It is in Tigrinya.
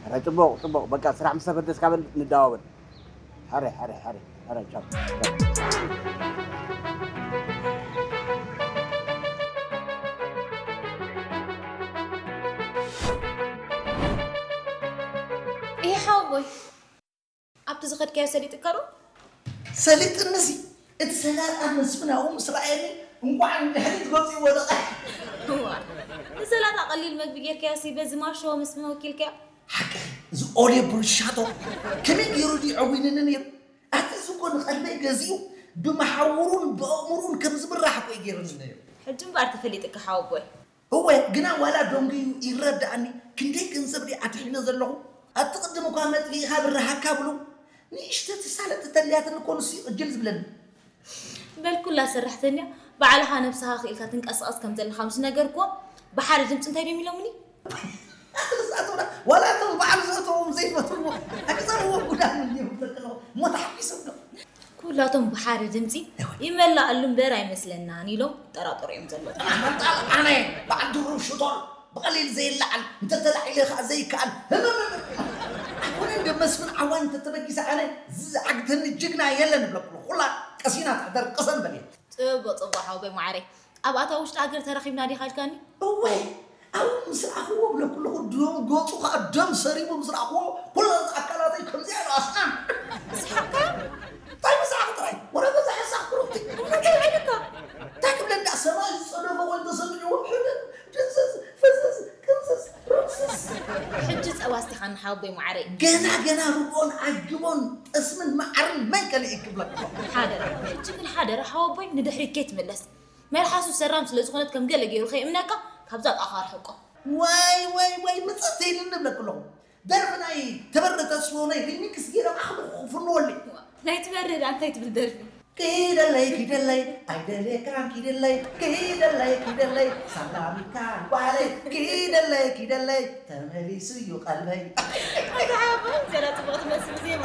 ሕረ ጽቡቕ ጽቡቕ፣ በቃ ስራሕ ምስ ተፈተስካ በል ንደዋወል። ሕረ ሕረ ሕረ ሕረ ቻው። ይሄ ሓወቦይ ኣብቲ ዝኸድካዮ ሰሊጥካ ዶ? ሰሊጥንሲ እቲ ሰላጣ መስፍን ኣብኡ ምስ ረኣየኒ እንቋዕ ንድሕሪት ገፁ ይወደቐ። እዋ፣ ንሰላጣ ቀሊል መግቢ ጌርካዮ ሲ በዚ ማሾ መስፍን ወኪልካዮ? ሓቅኺ፣ እዚ ኦሌ ብሩሻቶ ከመይ ገይሩ ድዩ ዐዊንኒ ነይሩ? ኣቲ እዚ እኮ ንቐልበይ ገዚኡ ብመሓውሩን ብኣእምሩን ከም ዝምራሕ እኮ እዩ ገይሩኒ ነይሩ። ሕጂ እምበኣር ተፈሊጥካ ሓወቦይ። እወ፣ ግና ዋላ ደንጉዩ ይረድኣኒ። ክንደይ ገንዘብ ድየ ኣድሒነ ዘለኹ? ኣብቲ ቅድም እኳ መጥፊእኻ ብርሃካ ብሉ። ንእሽተቲ ሳለጥ ተልያትኒ እኮ ንሱ እዩ ዕጅል ዝብለኒ። በል ኩላ ሰራሕተኛ ባዕልኻ ነብስኻ ክኢልካ ትንቀሳቐስ ከም ዘለኻ ምስ ነገርኩዎም ብሓደ ድምፂ እንታይ ድዮም ኢሎምኒ? ንሳቶም ዋላ እቶም በዓል ዘእተዎም ዘይፈትዎም ኣግዛብዎ ጉዳም እዮም ዘለዉ እሞ ተሓጒሶም ዶ? ኩላቶም ብሓደ ድምፂ ይመላኣሉ እምበር ኣይመስለናን ኢሎም ይጠራጠሩ እዮም ዘለዉ። ኣነ በዓል ድሩብ ሽቶል ብቐሊል ዘይለዓል እንተተላዒለ ከዓ ዘይከኣል ህምምም ኣይኮነ እንደ መስፍን ዓዋን እንተተበጊሰ ኣነ ዝዓግተኒ ጅግና የለን እብለኩሉ ኩላ ቀሲና ትሕደር ቅሰን በል እየ። ፅቡቅ ፅቡቅ ሓወቦይ ማዓረይ ኣብኣታ ውሽጢ ሃገር ተረኺብና ዲኻ ኢልካኒ? እወ ኣብኡ ምስ ረኣኽዎ እብለኩ ኣለኹ ደም ገፁ ከዓ ደም ሰሪቡ ምስ ረኣኽዎ ኩለን ኣካላተይ ከምዚኣ ኢሉ ኣስኣን። ስሓቅካ እንታይ ምሳዕ ጥራይ ወረ በዛ ሓሳብ ክሩቲ እንታይ ኢልካ? እንታይ ክብለ እንዳ ሰማይ ዝፀደፈ ኮይኑ ተሰሚዕዎ ሕብብ ድንዝዝ ፍዝዝ ቅንዝዝ ርምስስ። ሕጂ ፀባ ኣስቲኻኒ ሓወቦይ ማዓረይ። ገና ገና ርጎን ኣጅቦን ጠስምን መዓርን መን ከሊእ ክብለካ። ሓደራ ሕጂ ግን ሓደራ ሓወቦይ ንድሕሪት ከይትምለስ። መልሓሱ ሰራም ስለ ዝኾነት ከም ገለ ገይሩ ከይእምነካ ካብዛ ጣኻ ኣርሕቆ። ዋይ ዋይ ዋይ ምፅእ ተይልኒ እብለክ ኣለኹ። ደርፊ ናይ ተበረ ተስፎ ናይ ሪሚክስ ገይረ ማዕኽሉ ክፍንወለይ። ናይ ትበርህ ዳ እንታይ ትብል ደርፊ? ክይደለይ ክይደለይ ኣይደልየካን ክይደለይ ክይደለይ ክይደለይ ሳላሚካን ጓለይ ክይደለይ ክይደለይ ተመሊሱ እዩ ቀልበይ። ኣታ ሓወቦይ ዘላ ፅቡቕ ትመስል ዜማ።